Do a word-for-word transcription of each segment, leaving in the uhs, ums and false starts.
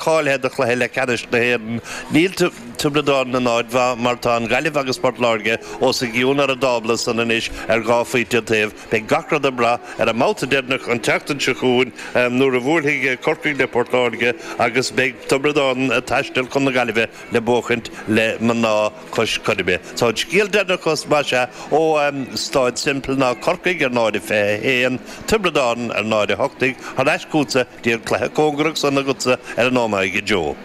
Cáilithe do chluiche leathcheannais na hÉireann. Níl Tiobraid Árann in áit mhaith mar tá an Ghaillimh agus Port Láirge os a gcionn ar an dtábla san anois ar dhá phointe an taobh. Beidh gach rud ag brath ar an mbabhta deireanach an tseachtain seo chugainn nuair a bhuailfidh Corcaigh le Port Láirge agus beidh Tiobraid Árann ag taisteal chun na Gaillimhe le buachaint le mná Cois Coiribe. So an scéal deireanach más ea ó Staid Semple ná Corcaigh ar náid a fiche a haon, Tiobraid Árann ar náid a hocht déag, thar ais chugatsa dtí an cluiche cóngarach san agatsa ar an Ómaigh, a Joe.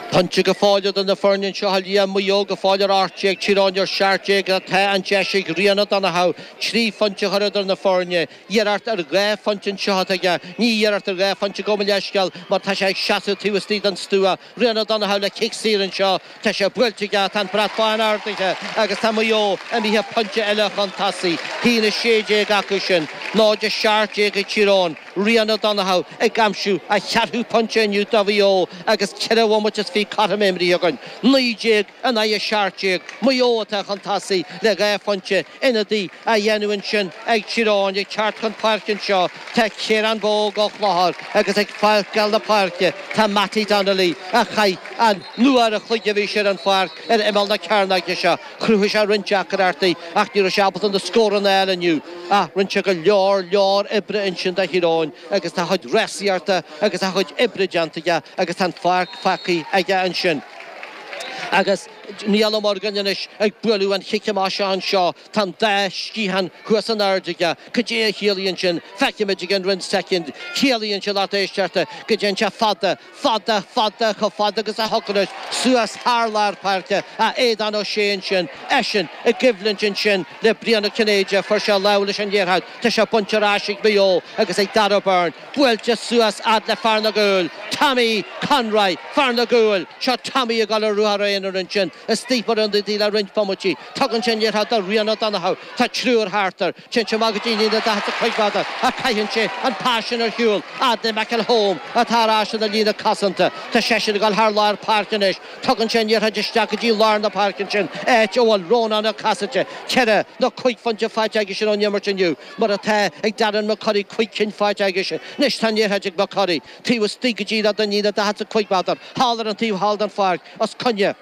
Pointe go fóill idir na foirne anseo, a Liam, Maigh Eo go fóill ar ocht déag, Tír Eoghain ar seacht déag. Tá an deis ag Rian O'Donoghue trí phointe a chur idir na foirne. Iarracht ar dhá phointe anseo atá aige. Ní iarracht ar dhá phointe, gabh mo leithscéal, mar tá sé ag seasamh taobh istigh den stua. Rian O'Donoghue le cic saor anseo. Tá sé buailte aige, tá an brat bán ardaithe agus tá Maigh Eo imithe pointe eile chun tosaigh. Haon a sé déag acu sin. Náid a seacht déag ag Tír Eoghain. Rian O'Donoghue ag aimsiú a cheathrú pointe inniu do Mhaigh Eo agus ceithre bhomaite is fiche cothrom imrithe againn. Naoi déag in aghaidh a seacht déag. Maigh Eo atá chun tosaigh le dhá phointe. Ionadaí á dhéanamh ansin ag Tír Eoghain. Ag teacht chun páirce anseo tá Ciarán Bogue ó Chlochar agus ag fágáil na páirce tá Mattie Donnelly a chaith an uair a chloig a bhí sé ar an pháirc ar imeall na cearnóige seo. Chruthaigh sé roinnt deacrachtaí ach ní raibh sé ábalta na scóranna a fháil inniu. Ach rinne sé go leor leor oibre ansin do Thír Eoghain agus tá a chuid rásaíochta agus a chuid oibre déanta aige agus tá an pháirc fágtha aige ansin. Agus Niall Ó Morgáin anois ag bualadh an chic amach seo anseo. Tá an dá sciathán thuas in airde aige. Cad é a chiallaíonn sin? Feicfimid i gceann roinnt soicind. Ciallaíonn sé, lucht éisteachta, go dtéann sé fada, fada, fada, chomh fada agus a thiocfadh leis, suas thar lár páirce. A Aodán Ó Sé ansin, eisean i gcoimhlint ansin le Brian Ó Cinnéide. Fuair sé lámh leis an liathróid. Tá sé bainte ar ais ag Maigh Eo agus ag Darragh Beirne. Buailte suas fhad le fear na gcúl, Tommy Conroy, fear na gcúl. Seo Tommy ag dul ar ruathar aonair ansin, istigh mar ionadaí le roinnt bomaití. Tugann sé an liathróid do Rian O'Donoghue. Tá triúr thart air. Téann sé amach go dtí an líne daichead is a cúig mhéadar ach caitheann sé an pas sin ar shiúl fhad le McElholm atá ar ais ina líne cosanta. Tá seisean ag dul thar lár páirce anois. Tugann sé an liathróid isteach go dtí lár na páirce ansin, áit a bhfuil Rónán Ó Casaide. Ceithre nó cúig phointe faighte aigesean ón imirt inniu, mar atá ag Darren McCurry, cúig cinn faighte aigesean. Anois tá an liathróid ag McCurry, taobh istigh go díreach den líne daichead is a cúig mhéadar, thall ar an taobh thall den pháirc, os coinne.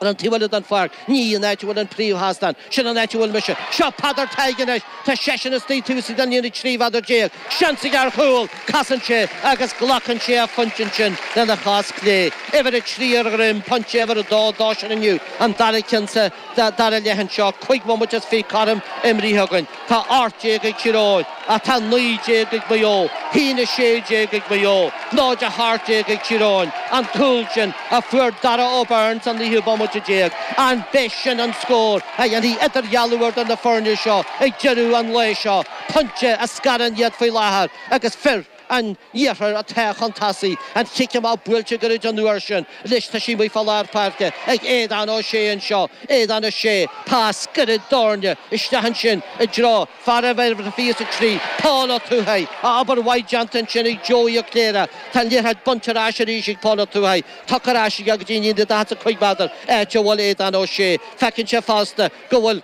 Ar an taobh eile den pháirc, ní an áit a bhfuil an príomhsheastán, sin an áit a bhfuil mise. Seo Peadar Tadhg anois. Tá seisean istigh taobh istigh den líne trí mhéadar déag. Seans aige ar chúl! Casann sé agus glacann sé a phointe ansin lena chos chlé. Uimhir a trí ar a dhroim, pointe uimhir a dó dósan inniu, an dara ceann sa dara leath anseo. Cúig bhomaite is fiche cothrom imrithe againn. Tá ocht déag ag Tír Eoghain ach tá naoi déag ag Maigh Eo. Haon a sé déag ag Maigh Eo, náid a hocht déag ag Tír Eoghain. An cúl sin a fuair Darragh O'Byrne sa naoú bomaite déag, an b'é sin an scór a dhéanfaidh idirdhealú idir na foirne seo ag deireadh an lae seo? Pointe a scarann iad faoi láthair agus fir an iarthair atá chun tosaigh. An chic amach buailte gairid an uair sin. Anois tá sí amuigh fá lár páirce ag Aodán Ó Sé anseo. Aodán Ó Sé, pas gairid doirne isteach ansin i dtreo fear uimhir a fiche is a trí, Paul Ó Tuathaigh. Obair mhaith déanta ansin ag Joey Ó Cléire. Tá an liathróid bainte ar ais arís ag Paul Ó Tuathaigh. Tugtha ar ais aige go dtí an líne daichead is a cúig mhéadar, áit a bhfuil Aodán Ó Sé. Feiceann sé fosta go bhfuil.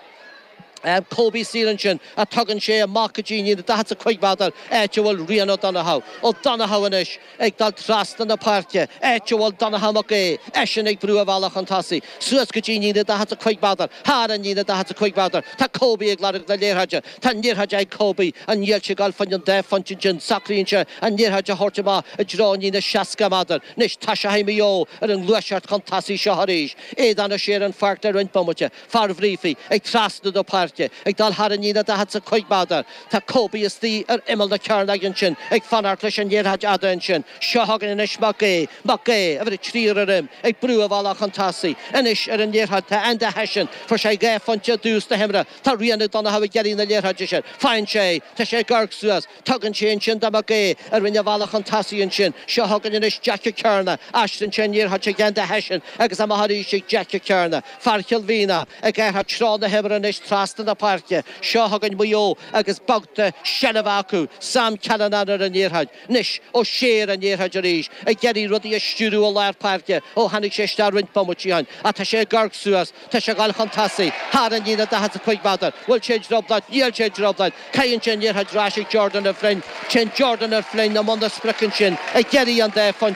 Kobe saor ansin ach tugann sé amach go dtí an líne daichead is a cúig mhéadar, áit a bhfuil Rian O'Donoghue. O'Donoghue anois ag dul trasna na páirce, áit a bhfuil Donncha Mac Aodha, eisean ag brú a bhealach chun tosaigh, suas go dtí an líne daichead is a cúig mhéadar, thar an líne daichead is a cúig mhéadar. Tá Kobe ag lorg na liathróide. Tá an liathróid ag Kobe. An níl sé ag dul fá choinne an dá phointe ansin? Socraíonn sé an liathróid a thabhairt amach i dtreo an líne seasca méadar. Anois toiseoidh Maigh Eo ar an ngluaiseacht chun tosaigh seo arís. Aodán Ó Sé ar an pháirc le roinnt bomaite. Fear Bhriafaí ag trasnú na páirce, ag dul thar an líne daichead is a cúig méadar. Tá Kobe istigh ar imeall na cearnóige ansin, ag fanacht leis an liathróid fhada ansin. Seo chugainn anois Mac Aodha. Mac Aodha, uimhir a trí ar a dhroim, ag brú a bhealach chun tosaigh. Anois ar an liathróid tá Enda Hession. Fuair sé dhá phointe i dtús na himeartha. Tá Rian O'Donoghue ag iarraidh na liathróide sin. Faigheann sé é. Tá sé ag amharc suas. Tugann sé ansin do Mac Aodha a rinne a bhealach chun tosaigh ansin. Seo chugainn anois Jack Ó Cearna. Aistríonn sé an liathróid chuig Enda Hession agus amach arís ag Jack Ó Cearna. Fear Chill Mhíona ag athrú treo na himeartha anois trasna trasna na páirce. Seo chugainn Maigh Eo agus babhta seilbhe acu. Sam Callinan ar an liathróid. Anois O'Shea ar an liathróid arís, ag iarraidh rudaí a stiúradh i lár páirce ó tháinig sé isteach roinnt bomaití ó shin. Ach tá sé ag amharc suas, tá sé ag dul chun tosaigh, thar an líne daichead is a cúig mhéadar. Bhfuil sé i dtrioblóid? Níl sé i dtrioblóid. Caitheann sé an liathróid ar ais ag Jordan O'Flynn. Téann Jordan O'Flynn i mbun na sprice ansin, ag iarraidh an dá phointe.